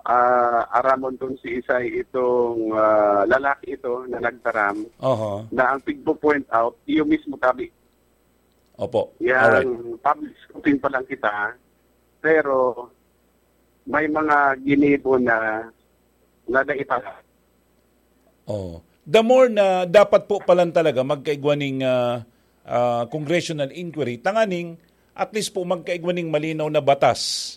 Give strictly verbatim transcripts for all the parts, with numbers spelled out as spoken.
Ah, aramon kun si isay itong, ah, lalaki ito na nagtaram Oho. na ang pigpo-point out, iyo mismo tabi. Opo. Alright. Yang public scrutiny pa lang kita, pero may mga ginibo na, na naipala. Oh. The more na dapat po palan talaga magkaigwa ning, ah, ah, congressional inquiry, tanganing at least po magkaigwa ning malinaw na batas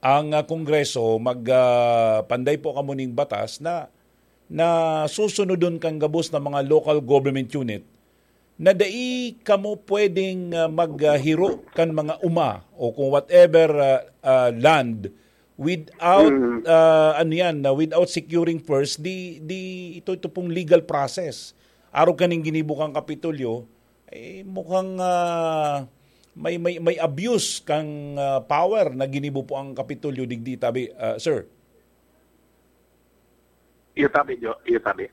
ang, ah, Kongreso, mag, ah, panday po kamo ning batas na, na susunodon kan gabos na mga local government unit na dai kamo pwedeng, ah, maghiro kan mga uma o kung whatever, ah, ah, land without, Mm. ah, ano yan, na without securing first the, the, ito, ito pong legal process. Arog kaning ginibo kang Kapitolyo, eh, mukhang, ah, may, may, may abuse kang, ah, power na ginibo po ang Kapitolyo digdi, tabi, ah, sir. Iyo tabi, Jo. Iyo tabi.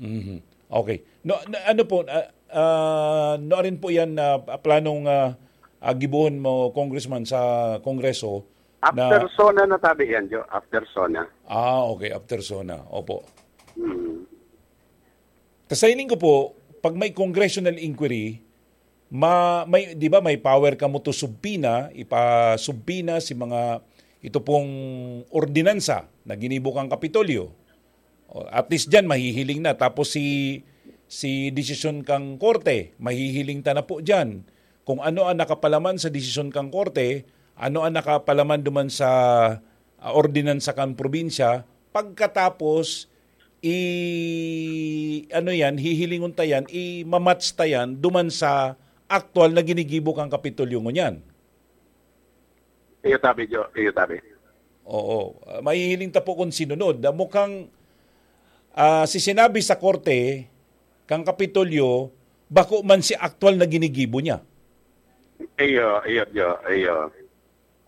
Mhm. Okay. No, no, ano po, ah, ah, no rin po yan na planong, ah, ah, gibohon mo, Congressman, sa Kongreso na After SONA na tabi yan, Jo. After SONA. Ah, okay. After SONA. Opo. Hmm. Kasailing ko po, pag may congressional inquiry, ma-, may, di ba, may power kamo to subpoena, ipasubpoena si mga, ito pong ordinansa na ginibo kang Kapitolyo. O, at least dyan, mahihiling na. Tapos si, si desisyon kang korte, mahihiling ta na po dyan. Kung ano ang nakapalaman sa desisyon kang korte, ano ang nakapalaman duman sa, ah, ordinansa kang probinsya, pagkatapos, i-, ano yan, hihilingon ta yan, i-match ta yan duman sa aktual na ginigibo kang Kapitolyo ngunyan. Iyo tabi, Jo. Iyo tabi. Oo. Ah, mahihiling ta po kung sinunod. Ah, mukhang, ah, si sinabi sa korte, kang Kapitolyo, bako man si aktual na ginigibo niya. Iyo, iyo, Jo. Iyo.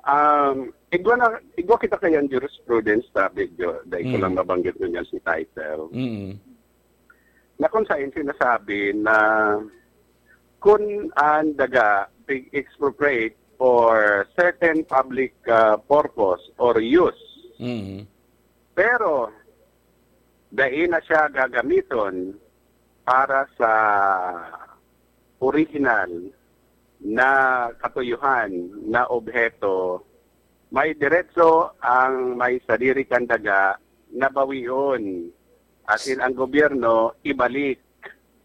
Um, igwa na, igwa kita kayan jurisprudence, tabi, Jo. Dai ko Mm. lang mabanggit ngunyan si title. Mm. Na kung saan sinasabi na kun an daga pig-expropriate for certain public, ah, purpose or use, Mm. pero dai na siya gagamiton para sa orihinal na katuyuhan na obheto, may diretso ang may sadiri kan daga na bawion, asin ang gobyerno ibalik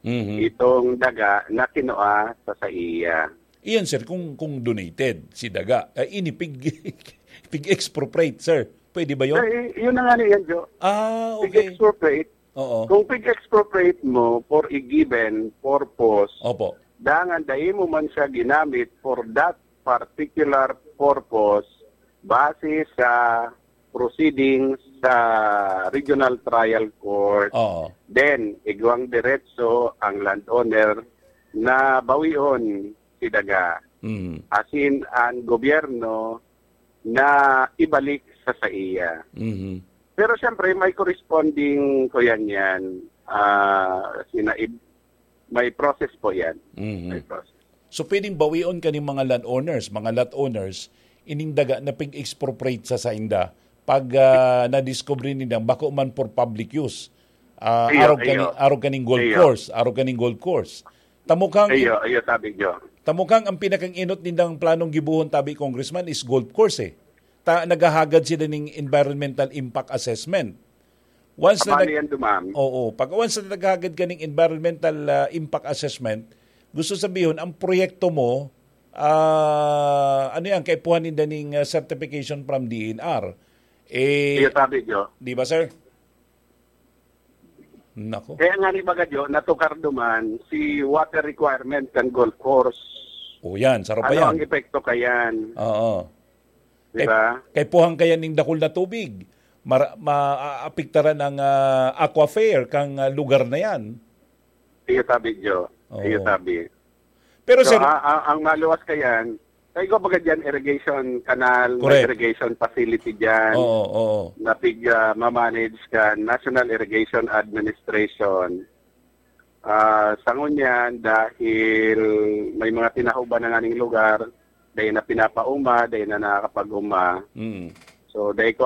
Mhm. itong daga na kinua sa saiya. Iyan, sir, kung, kung donated si daga, eh, ini pig-, pig-expropriate, sir. Pwede ba yun? Eh, yun na nga niyan, Jo. Ah, okay. Pig-expropriate. Oo. Kung pig-expropriate mo for a given purpose, Opo. dangan dai mo man siya ginamit for that particular purpose, base sa proceedings sa Regional Trial Court, Oo. then igwang diretso ang landowner na bawion si daga. Mm. Asin ang gobyerno na ibalik sa saiya. Mhm. Pero siyempre, may corresponding, kuyan yan, ah, sinaib-, may process po yan. Mhm. May process. So, pwedeng bawion kaning mga landowners, mga lot owners, ining daga na pig-expropriate sa sainda pag, ah, nadiskubre nila bako man for public use. Ah, Iyo, arog kani-, iyo. arog kaning golf Iyo. course, arog kaning golf course. Tamo kang Iyo, iyo, tabi, Jo. Tamo kang ang pinakang-inot nindang planong gibohon, tabi, Congressman, is golf course, eh. Ta-, naghahagad sila ning environmental impact assessment. Once na Abali nag-, yan, dumam. Oo, pag once na naghagad ka ning environmental, ah, impact assessment, gusto sabihon, ang proyekto mo, ah, ano yan, kaipuhan ninda ning, ah, certification from D N R. Eh, Iyo, tabi, Jo. di ba, sir? Nako. Kaya nga ni baga, Jo, natukar duman si water requirement kan golf course. O yan, saro pa Ano yan. ang epekto kayan? Oo. Di Kay, ba? kay puhang kaya ning dakul na tubig, mara-, maapektaran ang, ah, aquifer kang, ah, lugar na yan. Iyo tabi, Jo. Oo. Iyo tabi. Pero, So, sir, a-, a-, ang maluwas kayan, kaya ko baga dyan, irrigation canal, may Correct. irrigation facility dyan, Oo, oo. na pig, ah, mamanage ka, National Irrigation Administration. Ah, sa ngunyan, dahil may mga tinahuban na nganing lugar, dahil na pinapauma, dahil na nakakapag-uma. Mm. So, dahil ko